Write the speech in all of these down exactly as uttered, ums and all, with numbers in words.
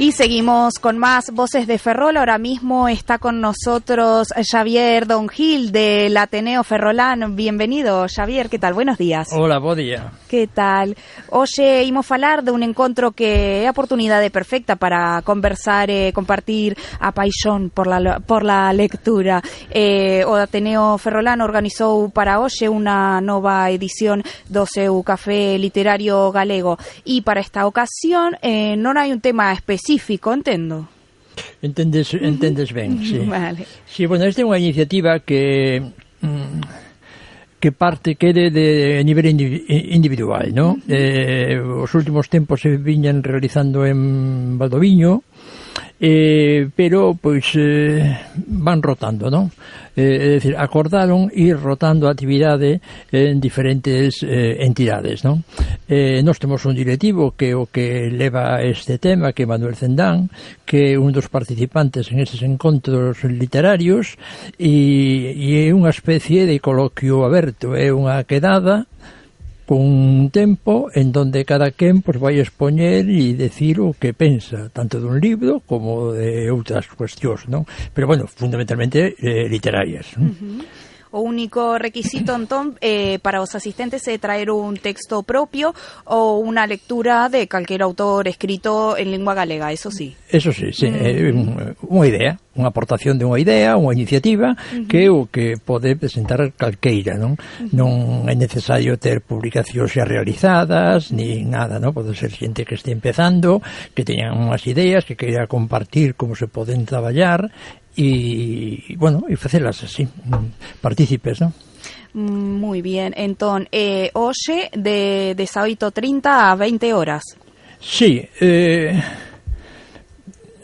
Y seguimos con más Voces de Ferrol. Ahora mismo está con nosotros Xavier Don Gil del Ateneo Ferrolán. Bienvenido, Xavier. ¿Qué tal? Buenos días. Hola, bo día. ¿Qué tal? Oxe, imos falar de un encontro que é a oportunidade perfecta para conversar e compartir a paixón por la, por la lectura. Eh, o Ateneo Ferrolán organizou para hoxe unha nova edición do seu café literario galego. E para esta ocasión eh, non hai un tema específico, entendo. Entendes, entendes ben, sí. Vale. Sí, bueno, esta é unha iniciativa que que parte quede de nivel individual, ¿no? Uh-huh. Eh, os últimos tempos se viñan realizando en Valdoviño, eh, pero pois eh, van rotando, ¿no? Eh, é dicir, acordaron ir rotando a actividade en diferentes eh, entidades, ¿no? Eh, nós temos un directivo que o que leva este tema, que é Manuel Cendán, que é un dos participantes en eses encontros literarios, e, e é unha especie de coloquio aberto, é unha quedada con un tempo en donde cada quen pues, vai expoñer e decir o que pensa, tanto dun libro como de outras cuestións, non? Pero, bueno, fundamentalmente eh, literarias. Uh-huh. O único requisito, entón, eh, para os asistentes é traer un texto propio ou unha lectura de calquera autor escrito en lingua galega, eso sí. Eso sí, sí, uh-huh. eh, unha idea, unha aportación de unha idea, unha iniciativa, uh-huh. que é o que pode presentar calqueira, non? Uh-huh. Non é necesario ter publicacións xa realizadas, ni nada, non? Pode ser xente que este empezando, que teñan unhas ideas, que queira compartir como se poden traballar, e, bueno, e facelas así, partícipes, non? Moi bien, entón, eh, hoxe de dezaoito e trinta a veinte horas. Sí, eh...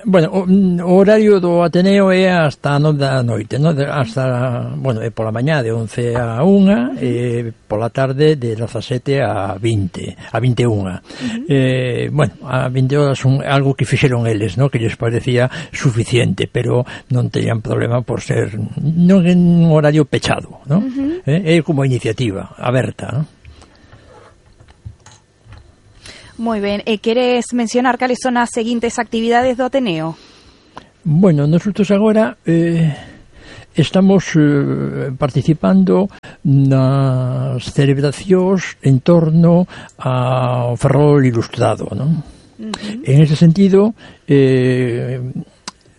Bueno, o, o horario do Ateneo é hasta a nove da noite, ¿no? Hasta, bueno, é pola mañá de once a unha, e pola tarde de dezasete a vinte, a vinte e unha. Uh-huh. Eh, bueno, a vinte horas son algo que fixeron eles, ¿no? Que lles parecía suficiente, pero non tenían problema por ser, non en un horario pechado, ¿no? Uh-huh. Eh, é como iniciativa aberta, ¿no? Moi ben, e queres mencionar cales son as seguintes actividades do Ateneo? Bueno, nosotros agora eh, estamos eh, participando nas celebracións en torno ao Ferrol Ilustrado, non? Uh-huh. En ese sentido, eh,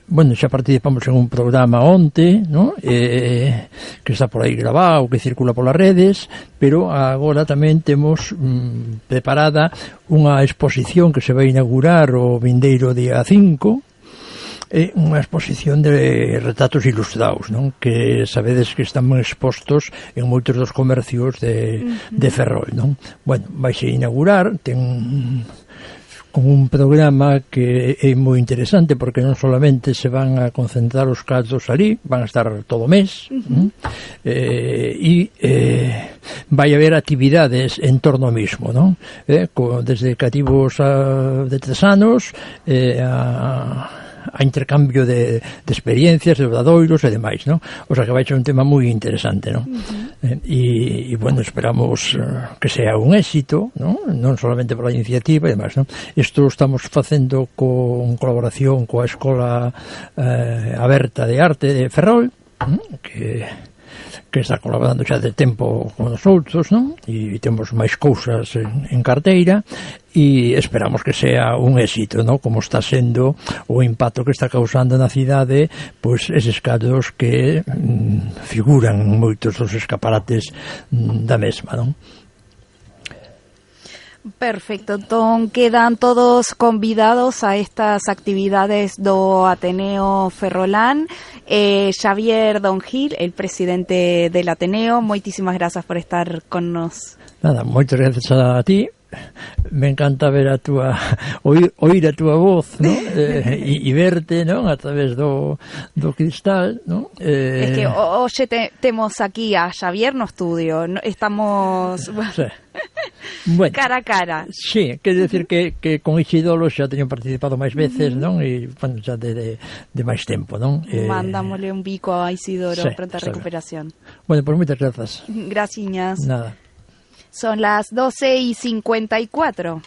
bueno, xa participamos en un programa onte, ¿no? Eh, que está por aí grabado, que circula polas redes, pero agora tamén temos mm, preparada unha exposición que se vai inaugurar o vindeiro día cinco, é unha exposición de retratos ilustrados, non? Que sabedes que están expostos en moitos dos comercios de, uh-huh. de Ferrol, non? Bueno, vaise inaugurar, ten con un programa que é moi interesante porque non solamente se van a concentrar os cadros ali, van a estar todo o mes, uh-huh. eh, e eh, vai haber actividades en torno ao mismo, non? Eh, co, desde cativos a, de tres anos eh, a a intercambio de, de experiencias, de obradoiros e demais, non? O sea que vai ser un tema moi interesante, non? Uh-huh. eh, e, e, bueno, esperamos uh, que sea un éxito, non? Non solamente por a iniciativa e demais, non? Isto estamos facendo con colaboración coa Escola eh, Aberta de Arte de Ferrol, ¿no? que que está colaborando xa de tempo con os outros, non? E temos máis cousas en, en carteira e esperamos que sea un éxito, non? Como está sendo o impacto que está causando na cidade, pois eses cadros que mm, figuran moitos dos escaparates mm, da mesma, non? Perfecto, entón quedan todos convidados a estas actividades do Ateneo Ferrolán. eh, Xavier Don Gil, el presidente del Ateneo, moitísimas grazas por estar con nos. Nada, moitas grazas a ti. Me encanta ver a túa oír, oír a túa voz, ¿no? eh, e, e verte, ¿no? A través do, do cristal, ¿no? Eh... Es que hoxe te, temos aquí a Xavier no estudio, ¿no? Estamos sí. Bueno, cara a cara. Sí, quer decir que, que con Isidolo xa teño participado máis veces, uh-huh. non? E, bueno, xa de, de, de máis tempo, non? Eh... Mandámosle un bico a Isidoro, sí, pronta recuperación. Bueno, pues moitas grazas. Graciñas. Nada. Son las doce y cincuenta y cuatro.